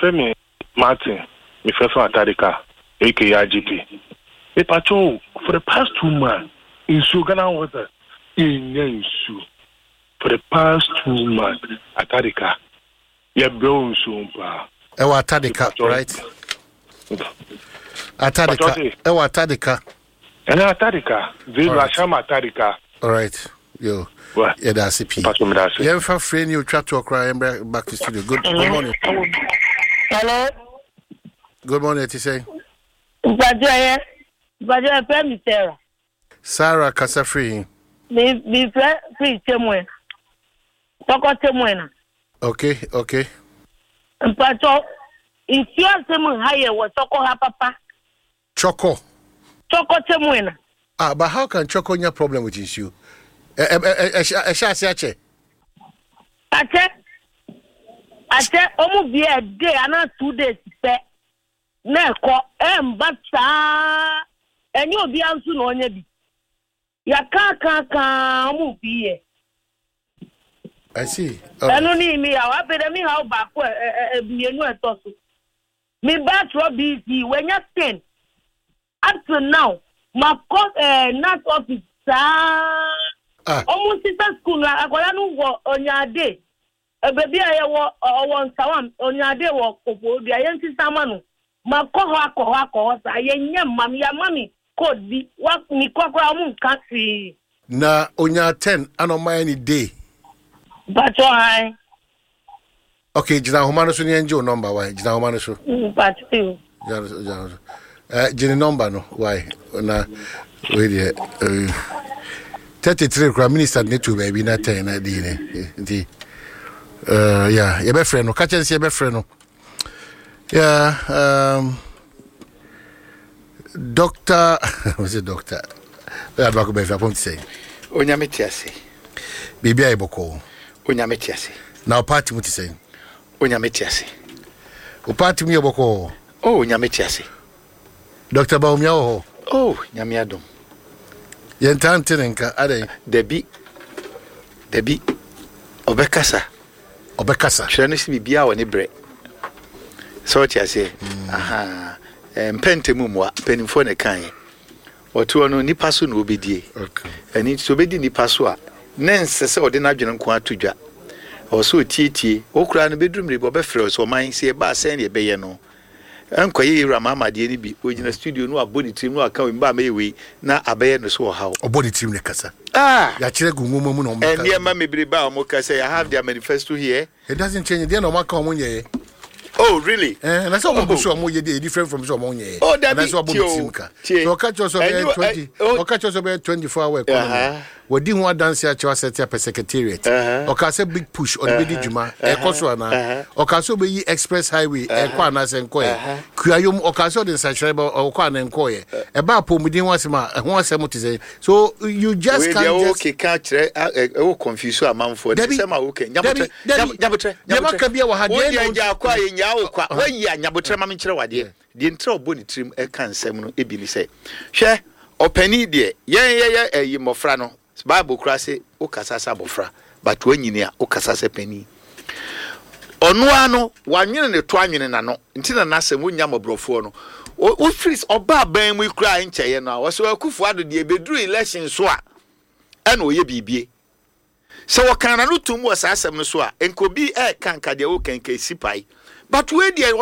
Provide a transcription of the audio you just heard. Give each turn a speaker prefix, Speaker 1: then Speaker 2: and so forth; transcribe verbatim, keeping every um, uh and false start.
Speaker 1: Femi Martin, mefrɛ from Atadika, aka I G P. Mepacho, for the past two months, nsuo, Ghana Water, yɛnya nsuo. For the past two months, Atadika, yɛbrɛ wo nsuo paa.
Speaker 2: Ɛwɔ Atadika, right? Atadika, ɛwɔ Atadika.
Speaker 1: Ɛnɛ Atadika, Zero Ashama Atadika.
Speaker 2: All right. Yo. Yɛda ase pii. Yɛmfa frɛ ni otwa toɔ koraa, yɛmbrɛ back to studio. Good, good morning.
Speaker 3: Hello.
Speaker 2: Good morning, ɛte sɛ?
Speaker 3: Mpatsɔ yɛ, mpatsɔ yɛ fɛ mi Sarah.
Speaker 2: Sarah, kasa firi?
Speaker 3: Mi mi fɛ firi Tɛmue. Tɔkɔ Tɛmue na.
Speaker 2: Okay, okay.
Speaker 3: Mpatsɔ, nsuo asɛm ha yɛ wɔ Tɔkɔ ha papa.
Speaker 2: Chɔkɔ.
Speaker 3: Tɔkɔ Tɛmue na.
Speaker 2: Ah, but how can Chɔkɔ nya problem with nsuo? Ɛ ɛ ɛ ɛhyɛ ase akyɛ?
Speaker 3: Akyɛ. Akyɛ, ɔmo bie a day ana two days pɛ. Na ɛkɔ ɛmba saa, ɛnyɛ obiara nso na ɔnyɛ bi. Yɛka ka ka, ɔmo bi yɛ.
Speaker 2: I see.
Speaker 3: Ɛno ne mi haw. Afei dɛ mi haw baako ɛ ɛ mmienu ɛtɔ so. Mi ba atwerɛ B C wanya ten up to now. Ma kɔ ɛɛ G N A T office saa. Ɔmo sisa school no, akwadaa no wɔ ɔnyaade. Beebi a yɛwɔ, ɔwɔ Nsawam, ɔnyaade wɔ Koforidua, yɛn sisa ama no. Ma kɔ hɔ, akɔ hɔ, akɔ hɔ saa, yɛnyɛ mma mi, yɛama mi code bi wa mi kɔ koraa, ɔmo nka hwee.
Speaker 2: Na onya ten ana ɔma yɛ ne day?
Speaker 3: Mpatsɔ han.
Speaker 2: Okay, gyina ahoma no so ne yɛn gye o number wae. Gyina ahoma no so.
Speaker 3: Mpatsɔ yi.
Speaker 2: Gyina so, gyina so. Ɛɛ gye ne number no wae, na wei deɛ ɛɛ thirty three kura minister ne to baabi na ten na di ne nti ɛɛ ya yɛbɛfrɛ no, kakyɛ nsi yɛbɛfrɛ no ya. um, doctor, what's doctor? Bɛyɛ adubako bɛfi apɔm ti sɛ?
Speaker 4: Onyame te ase.
Speaker 2: Biribi ayɛ bɔkɔɔ?
Speaker 4: Onyame te ase.
Speaker 2: Na o party mu te sɛ?
Speaker 4: Onyame te ase.
Speaker 2: O party mu yɛ bɔkɔɔ?
Speaker 4: Oh, Onyame te ase.
Speaker 2: Doctor Bawumia wɔ hɔ?
Speaker 4: Oh, Nyame adom.
Speaker 2: Yɛntaa nte ne nka adɛn?
Speaker 4: Dabi, dabi, ɔbɛkasa.
Speaker 2: Ɔbɛkasa.
Speaker 4: Twerɛ no sɛ biribiaa wɔ ne berɛ sɛ ɔte aseɛ. Aha, mpɛ ntɛm mmoa mpanimfoɔ ne kaeɛ ɔtoɔ no, nipa so na ɔbɛdie. Ɛno nti sɛ ɔbɛdi nipa so a, ne nsɛ sɛ ɔde n'adwene nko ato dwa, ɔwɔ sɛ ɔtietie. Wokora no bɛduru mmere bi, ɔbɛfrɛ wo sɛ ɔman sɛ yɛba asɛn ne yɛbɛyɛ no, ɛnkɔyɛ yɛwura Mahama deɛ no bi, ɔgyina studio no wabɔ ne tirim na waka wei mba mɛyɛ wei na abɛyɛ no so ɔhaw.
Speaker 2: Ɔbɔ ne tirim ne kasa?
Speaker 4: Ah.
Speaker 2: Yɛakyerɛ gu nwoma mu na ɔmo.
Speaker 4: Nneɛma bebrebe a ɔmo ka sɛ I have their manifesto here.
Speaker 2: It doesn't change deɛ na ɔmo aka ɔmo nyɛɛ.
Speaker 4: Oh, really?
Speaker 2: Ɛɛ na sɛ ɔmo gu so ɔmo yɛ deɛ different from sɛ ɔmo nyɛɛ.
Speaker 4: Oh, dabi.
Speaker 2: Anaasɛ ɔbɔ ne tirim ka.
Speaker 4: Tie.
Speaker 2: So ɔka kyerɛ sɛ ɔbɛyɛ twenty, ɔka kyerɛ sɛ ɔbɛyɛ twenty four hour economy, wɔdi ho adanse akyerɛ, asɛte apɛ secretariat. Ɔka sɛ big push ɔde bɛdi dwuma, ɛkɔ so anaa? Ɔka sɛ ɔbɛyi express highway, ɛkɔ anaasɛ nkɔyɛ? Kuayom, ɔka sɛ ɔde nsakyerɛ bɛ, ɔkɔ anaa nkɔyɛ? Ɛba apɔmuden ho asɛm a, ɛho asɛm te sɛ so you just can't just
Speaker 4: keka kyerɛ, ɛwɔ confuse amanfoɔ.
Speaker 2: Dabi.
Speaker 4: Sɛm a wokɛ.
Speaker 2: Dabi, dabi.
Speaker 4: Nyabotrɛ.
Speaker 2: Deɛ maka bi wɔ ha, deɛ
Speaker 4: deɛ
Speaker 2: na
Speaker 4: gya akɔ a yɛnyaa wo kwa wayi a, nyabotrɛ ma menkyerɛ wadeɛ. Deɛ ntrɛ ɔbɔ ne tirim ɛka nsɛm no ebi ne sɛ, hwɛ, ɔpani deɛ, yɛn yɛyɛ ɛyi mmɔfra no, Bible kora se wokasa sɛ abɔfra, but wanyini a wokasa sɛ panin. Ɔno ara no wanwene ne to anwene n'ano nti na n'asɛm wonya mmɔborɔfoɔ no wofiri ɔbaa ban mu yi koraa nkyɛeɛ no a, wɔsɛ Akufo Ado deɛ, ɛbɛduru election so a ɛna ɔyɛ biribie sɛ wɔka n'ano tom wɔ saa asɛm no so a, nka obi ɛɛka nka deɛ woka nka esi pae, but wei deɛ